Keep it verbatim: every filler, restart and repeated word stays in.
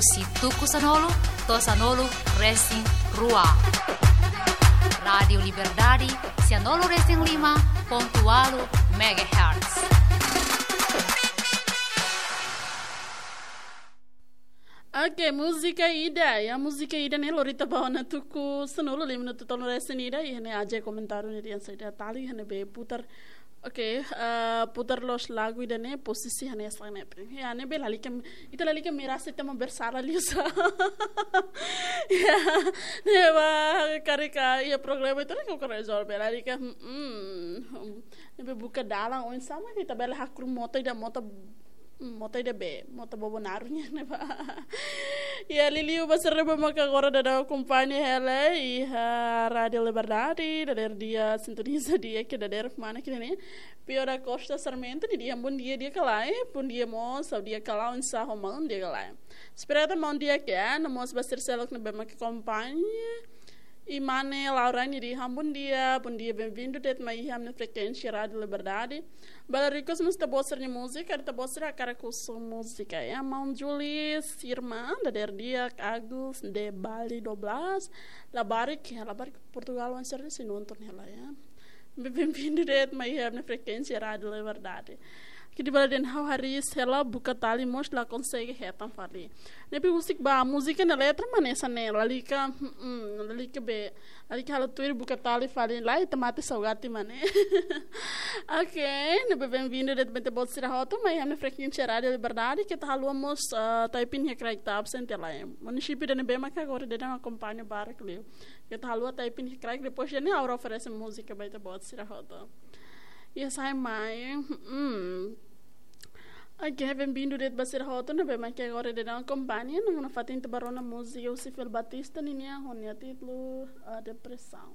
Husi tuku sanulu to'o sanulu resin rua. Rádiu Liberdade, sanulu resin lima pontu ualu megahertz. Oke, múzika ida. Ya, múzika ida ne'e lori ita ba ona tuku sanulu lima minutu tolu resin ida. Iha ne'e aja komentáriu ne'e dehan saida tali, iha ne'ebé putar. Oke, eh, putar loos lagu ida ne'e posisi hanesan ne'e. Ya, ne'ebé lalika, ita lalika merasa ita mak bersala liu sa. Ya, ne'ebá karik iha problema ita lalika rezolve. Lalika, hmm, hmm. Ne'ebé buka dalan oinsá mak ita bele hakruk mota ida, mota, hmm, mota ida be, mota bobo naruk nian ne'ebá. Ya, liuliu ba sira ne'ebé maka agora daudaun akompaña hela iha Rádiu Liberdade, dadeer di'ak, sintoniza di'ak, ke dadeer mana kini ni. Pio da Costa Sarmento, nia dehan bondia di'ak ka lae, bondia mós, ha'u di'ak ka lae, oinsá ho maun di'ak ka lae. Espera katak maun di'ak ya, no mós ba sira seluk ne'ebé maka akompaña. I mane Laura nia dehan bondia, bondia, benvindu de'it mai iha ami-nia frekuénsia Rádiu Liberdade. Bele request mós ita-boot sira-nia múzika, ita-boot sira hakarak husu múzika ya. Maun Julius, irmã, dadeer di'ak, Agus, de Bali dua belas, labarik, ya, labarik Portugal, wan sira sei nonton hela ya. Benvindu de'it mai iha ami-nia frekuénsia Rádiu Liberdade. Kidi bala den hau haris hela buka tali mós la konsege hetan fali. Ne'ebé husik ba múzika nia letra mak hanesan ne'e, lalika, hmm, lalika be, lalika halo tuir buka tali fali, lae ita mate saugati mak ne'e. Oke, ne'ebé benvindu de'it ba ita-boot sira hotu mai iha ami-nia frekuénsia Rádiu Liberdade, keta haluha mós, eh, type in iha kraik ita absente lae. Munisípiu ida ne'ebé maka agora daudaun akompaña barak liu. Keta haluha type in iha kraik, depois de ne'e ha'u oferese múzika ba ita-boot sira hotu. Ya sai mai. Hmm. Oke, benvindu de'it ba sira hotu ne'ebé maka agora daudaun akompaña, no nafatin ita bá rona múzika husi Fil Batista ninia ho nia títulu, eh, Depressão.